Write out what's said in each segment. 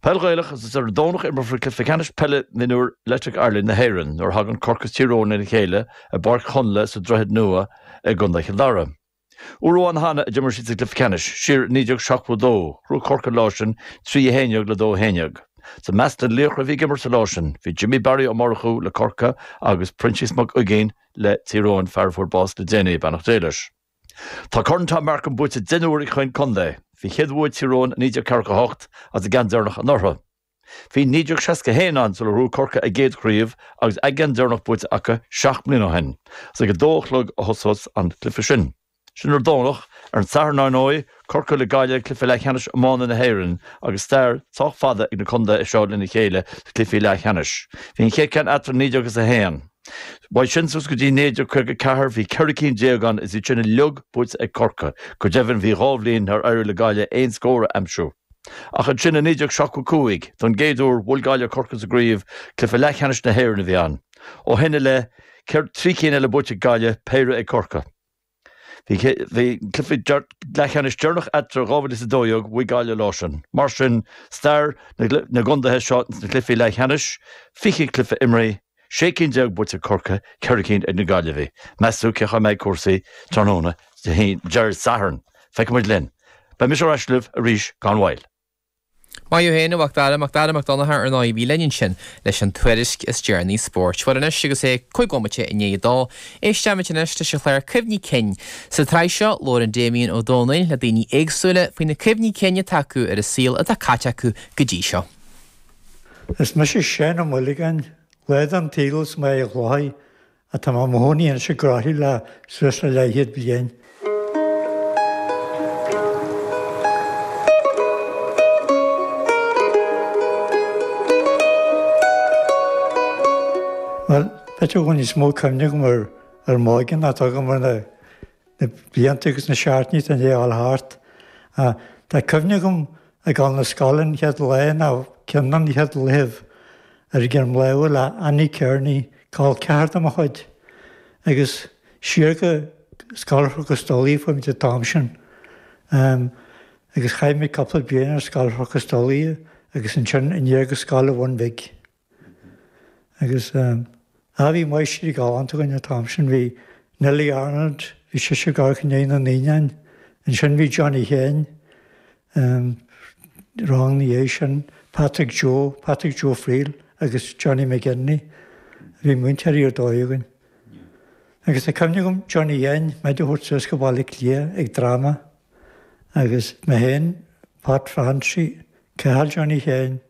Peil Ghaelach, Is ar an Domhnach a imreofar cluiche ceannais peile mionúir Electric Ireland na hÉireann nuair a thagann Corcaigh is Tír Eoghain lena chéile i bPáirc Chonla sa Droichead Nua i gContae Chill Dara. Uair amháin cheana a d'imir siad sa gcluiche ceannais, siar i 1972, ghnóthaigh Corcaigh an lá sin, 3 1 le 2 11. Is i measc na laochra a bhí ag imirt sa lá sin, bhí Jimmy Barry Ó Murchú le Corcaigh agus Proinsias Mac Uiginn le Tír Eoghain, fear a fuair bás le déanaí, beannacht Dé leis. Tá Corn Tom Markham buaite 10 n-uair ag chaon contae. Bhí chéad bhua Tír Eoghain i 1948 agus a gceann deireanach anuraidh. Bhí 1961 ann sular ghnóthaigh Corcaigh a gcéad chraobh agus a gceann deireanach buaite acu 7 mbliana ó shin. Is ag a dó a chlog a thosós an cluiche sin. Sin ar an Domhnach. Ar an Satharn, ar ndóigh, Corcaigh le Gaillimh, cluiche leathcheannais iomána na hÉireann agus stair sách fada ag na contaetha seo lena chéile sna cluichí leathcheannais. Bhí an chéad ceann eatarthu i 1901. Uaidh sin suas go dtí 1954 bhí 14 cinn ann is iad sin uilig buaite ag Corcaigh. Go deimhin bhí dhá bhliain nár éirigh le Gaillimh aon scór a aimsiú. Ach ansin i 1975, don gcéad uair, bhuail Gaillimh Corcaigh sa gcraobh, cluiche leathcheannais na hÉireann a bhí ann. Ó shin i leith, 3 cinn eile buaite ag Gaillimh, péire ag Corcaigh. Bhí cluiche leathcheannais deireanach eatarthu 2012, bhuaigh Gaillimh an lá sin. Mar sin, stair na gcontaetha seo sna cluichí leathcheannais, 20 cluiche imrithe, 16 cinn buaite ag Corcaigh, 4 cinn ag na Gaillimhigh. Meas tú cén chaoi a mbeidh cúrsaí tráthnóna Dé Sathairn? Feicfidh muid linn. Beidh mise ar ais libh arís gan mhoill. Maith thú féin, a Mhac Dara, Mac Dara Mac Donncha ar ndóigh a bhí linn ansin leis an tuairisc is deireanaí spóirt. Bhuel anois agus é 5 bhomaite i ndiaidh a dó, éistfimid anois leis an chlár Cuimhní Cinn. Sa tsraith seo, labhrann Damien Ó Dónaill le daoine éagsúla faoi na cuimhní cinn atá acu ar an saol atá caite acu go dtí seo. Is mise Seán Ó Maolagáin, lá den tsaol as Machaire Chlochair Tá mé i mo chónaí anois i gCroithlí le suas le leathchéad bliain. Bhuel, b'fhéidir go bhfuil níos mó cuimhne agam ar ar m'óige ná atá agam ar na blianta agus na seachtainí atá i ndiaidh a dhul thart. Tá cuimhne agam ag dul na scoile an chéad lá nó ceann de na chéad laethibh ar dhroim láimhe le Annie Kearney, col ceathar de mo chuid, agus siar go Scoil Chnoc an Stolaire a fuair muid an t-am sin. Agus chaith muid cúpla bliain ar Scoil Chnoc an Stolaire agus ansin aniar go Scoil an Bhun Bhig. Agus á bhí máistrí galánta againn an t-am sin, bhí Nellie Arnold, bhí sise ag amharc i ndiaidh na naíonáin, ansin bhí Johnny Sheáin, rang ina dhiaidh sin, Patrick Joe, Patrick Joe Friel agus Johnny McGinley, bhí múinteoirí ar dóigh againn. Agus tá cuimhne agam Johnny Sheáin, muid a thabhairt suas go Baile Átha Cliath ag dráma agus mé féin, Pat Francie, Cathal Johnny Sheáin,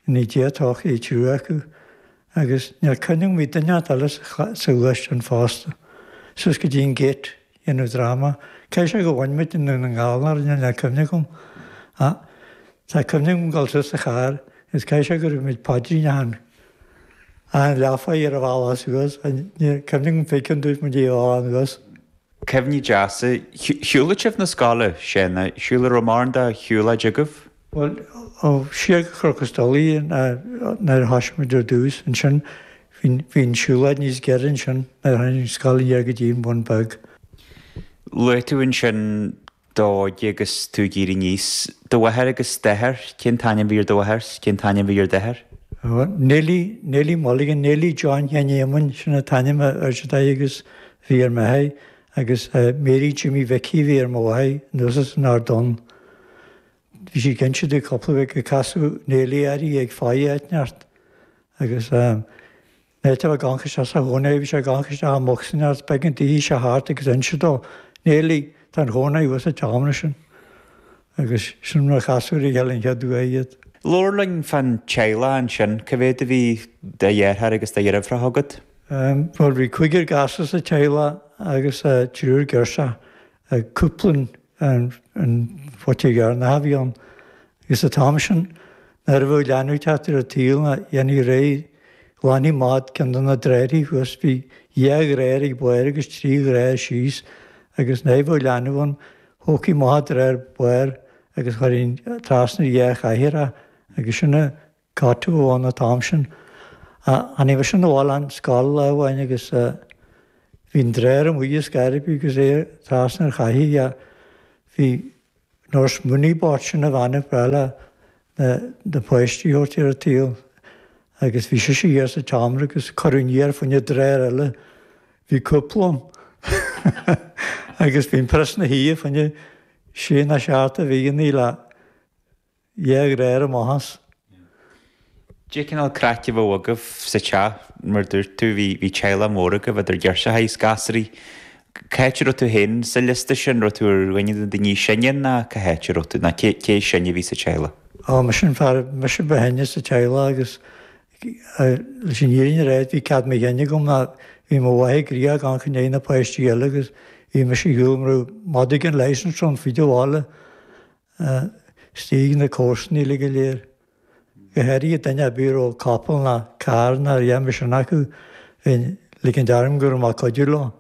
Go nité Dia a todhchaí triúr acu agus níl cuimhne agam bhí duine inteacht eile sa ghluaisteán fosta. Suas go dtí an Gate ag déanamh dráma. Caithfidh sé go bhain muid i nDún na nGall nó rud níl cuimhne agam. Ach tá cuimhne agam dul suas sa charr agus caithfidh sé go raibh muid paidrín achan achan leathuair ar an bhealach suas. Níl cuimhne agam fé cionn dúirt muid í a fháil anuas. Cuimhní deasa. Shiúladh sibh na scoile, Séanna? Shiúladh raibh mórán de shiúlóid agaibh? Bhuel, ó, siar go Cnoc an Stolaire nuair a thoisigh muid ar dtús. Ansin bhí an siúlóid níos giorra ansin nuair a tháinig an scoil aniar go dtí an Bun Beag. Luaigh tú ansin d'óige agus tú ag éirí aníos. Do mháthair agus d'athair, cén t-ainm a bhí ar do mháthair 's cén t-ainm a bhí ar d'athair? Neilí, Neilí Mulligan, Neilí John Sheáin Éamoinn, sin an t-ainm a oirtear di agus bhí ar m'athair agus Mary Jimmy Mhicí a bhí ar mo mháthair anuas as an Ard Donn. Bhí sí ag inse domh cúpla uair gur casadh Neilí uirthi ag faire áit inteacht agus Nuair a bheadh amharc isteach sa chónaí, bhí sé ag amharc isteach i mbocsa inteacht, b'éigean di sé thart agus inse dó, Neilí, tá an chónaí thuas sa tseomra sin. Agus sin mar a casadh ar a chéile an chéad uair iad. Labhair linn fán teaghlach ansin, cá mhéad a bhí de dheartháir agus de dheirfiúracha agat? Bhuel, bhí cúigear gasúr sa teaghlach agus triúr girseach. Cúpla an phote dheireanach a bhí ann agus an t-am sin nuair a bheadh leanbh ag teacht ar an tsaol ná dhéanfaí réidh ghlanfaí amach ceann de na dráirí thuas bhí dhá dhráir ag barr agus trí dhráir síos agus nuair a bheadh leanbh ann thógfaí amach an dráir bairr agus chuirfí trasna ar dhá chathaoir é agus sin a cot a bhí ann an t-am sin. Tháinig mise 'na bhaile ón scoil lá amháin agus bhí an dráir amuigh ar scor ar bith agus é trasna ar chathaoir. Bhí Nurse Mooney bocht sin a bhean a bhreá le. Na páistí a thabhairt ar an tsaol agus bhí sise thiar sa tseomra agus cuireadh aniar fá choinne deartháir eile, bhí cúpla ann agus bhí an prios ina shuí fá choinne sé nó seacht de bhíonnaí le dhá dheartháir amach as. Cén cineál craic a bheadh agaibh sa teach? Mar dúirt tú, bhí bhí teaghlach mór agaibh idir ghirseachaí is gasraí. Cá háit a raibh tú féin sa liosta sin? Raibh tú ar dhuine de na daoine is sine ná cá háit a raibh tú? Ná cé cé is sine a bhí sa teaghlach? Ó, mise an fear, mise ba shine sa teaghlach agus leis an fhírinne a rá bhí cead mo chinn agam ná bhí mo mháthair gnoitheach ag amharc i ndiaidh na páistí eile agus bhí mise ar shiúl mar a bheadh madadh gan licence ann fríd an bhaile istigh ag na comharsana uilig go léir. Go háirithe duine ar bith a raibh capall ná carr ná a dhath mar sin acu, bheinn ag ligint orm go raibh mé ag cuidiú leo.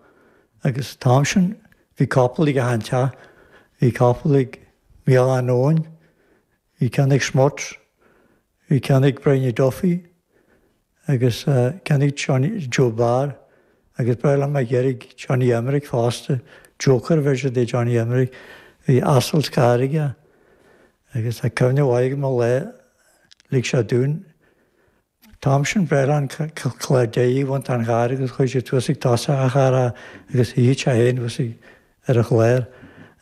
Agus an t-am sin bhí capall ag achan teach, bhí capall ag Micheál Eoin, bhí ceann ag Smuts, bhí ceann ag Bryony Duffy agus ceann ag Johnny, Joe Barr agus ba bhreá liom a dheiridh Johnny Emerick fosta, Joker a bheir siad ar Johnny Emerick, bhí asal 's carr aige. Agus tá cuimhne mhaith agam ar lá lig sé dúinn an t-am sin ba bhreá leo an clár deiridh a bhaint den charr agus chuaigh siad suas ag tosach an chairr agus shuigh sé féin thuas ar an chlár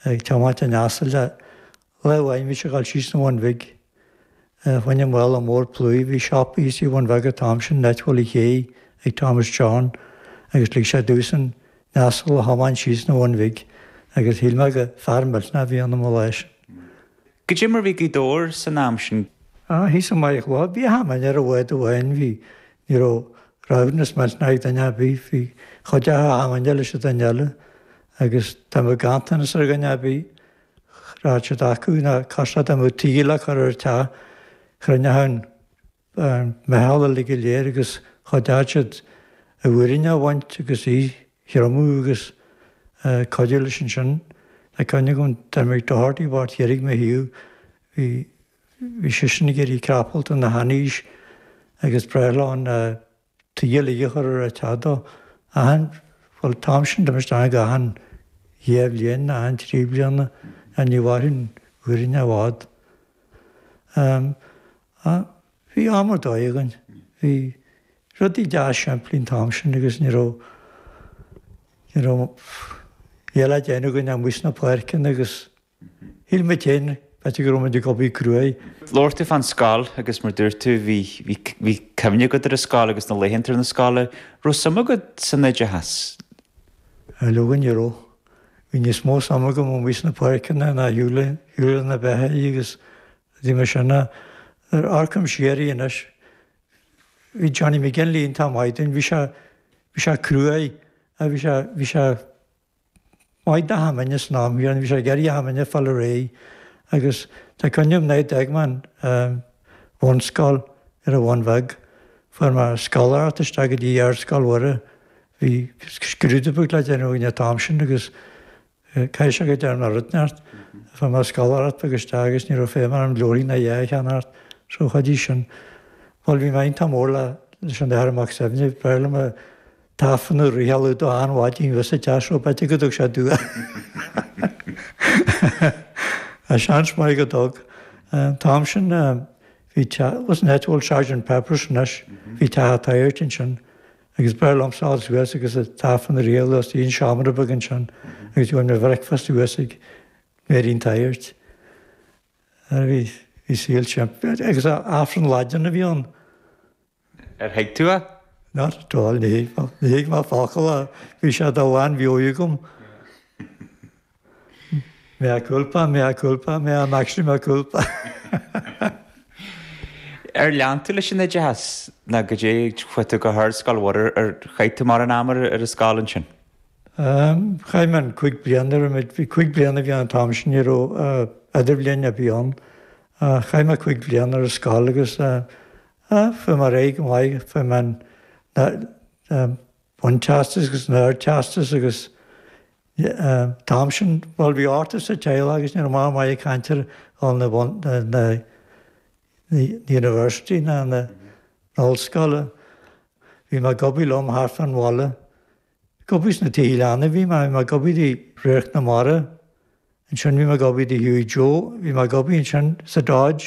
ag tiomáint an asail le lá amháin bhí sé ag dul síos an Bhun Bhig fá choinne mála mór plúir bhí siopa thíos sa Bhun Bheag an t-am sin an áit a bhfuil an ché ag Thomas John agus lig sé domhsa an t-asal a thiomáint síos an Bhun Bhig agus shíl mé gur fear millteanach a bhí ionam an lá sin. Goidé mar bhí Gaoth Dobhair san am sin? Ah, thíos i mBaile Chláir, bhí achan duine ar an bhád amháin, bhí, ní raibh roghnú millteanach ag duine ar bith, bhí chuideodh achan duine leis an duine eile agus dá mbeadh ganntanas ar dhuine ar bith, rachadh siad acu nó cosúil dá mbeadh tuí le cur ar an teach, chruinneodh an an meitheal uilig go léir agus chuideodh siad an fhoireann a bhaint agus í thriomú agus cuidiú leis ansin. Tá cuimhne agam Dermot Doherty bocht thiar ag mo thaobh, bhí bhí seisean ag iarraidh crapalt ina sheanaois agus ba bhreá leo an tuí uilig a chur ar an teach dó. Achan, bhuel an t-am sin d'imigh isteach achan dhá bhliain, achan trí bliana, ní mhairfeadh an fhoireann i bhfad. Bhí am ar dóigh againn. Bhí rudaí deas simplí an t-am sin agus ní raibh, ní raibh a dhath le déanamh againn amuigh sna páirceanna agus shíl muid féin b'fhéidir go raibh muid ag obair cruaidh. Labhair tú fán scoil agus mar dúirt tú bhí, bhí, bhí cuimhne agat ar an scoil agus na laethanta ar na scoile. Raibh suim agat san oideachas? Leoga ní raibh. Bhí níos mó suim agam amuigh sna páirceanna ná ar shiúl, shiúl na beithígh agus Bhí mé sin a amharcaim siar air anois. Bhí Johnny McGinley iontach maith dúinn, bhí sé, bhí sé cruaidh, bhí sé, bhí sé maith d'achan duine san am chéanna, bhí sé ag iarraidh achan duine fáil ar aghaidh agus tá cuimhne agam nuair a d'fhág mé an bhunscoil ar an Bhun Bheag, fuair mé scoláireacht isteach go dtí Ardscoil Mhuire, bhí scrúdú beag le déanamh againn an t-am sin agus Caithfidh sé go dtearn mé rud inteacht. Fuair mé scoláireacht beag isteach agus ní raibh feidhm orm leabharthaí ná a dhath a cheannacht so chuidigh sin. Bhuel bhí mé iontach mór le leis an Athair Mac Suibhne, b'fhearr liom an tAifreann a fhriotháladh dó achan mhaidin thuas sa teach so b'fhéidir go dtug sé dua. Tá seans maith go dtug. An t-am sin bhí teach, was an áit a bhfuil Sergeant Peppers anois, bhí teach an tSagairt ansin. Agus b'fhearr liomsa a ghabháil suas agus an tAifreann a fhriotháladh istigh in seomra beag ansin agus gheobhainn mo bhreicfeast thuas ag Mary an tSagairt. Bhí bhí saol simplí agus Aifreann Laidin a bhí ann. Ar thuig tú é? Not at all, ní thuig mé, ní thuig mé focal ach bhí sé de lánmheabhair agam. Mea culpa, mea culpa, mea maxima culpa. Ar lean tú leis an oideachas nó goidé chuaigh tú go hArdscoil Mhuire, ar chaith tú mórán ama ar an scoil ansin? Chaith mé an cúig bliana, raibh muid, bhí cúig bliana a bhí ann an t-am sin, ní raibh idirbhliain ar bith ann. Chaith mé cúig bliana ar an scoil agus fuair mé ar aghaidh go maith, fuair mé an bunteastas agus an ardteastas agus An t-am sin, bhuel, bhí ochtar sa teaghlach agus ní raibh mórán maith ag caint ar dhul na na university ná na ollscoile. Bhí mé ag obair liom thart fán bhaile. Ag obair sna tithe leanna a bhí mé, bhí mé ag obair i Radharc na Mara. Ansin bhí mé ag obair do Hughie Joe, bhí mé ag obair ansin sa Dodge.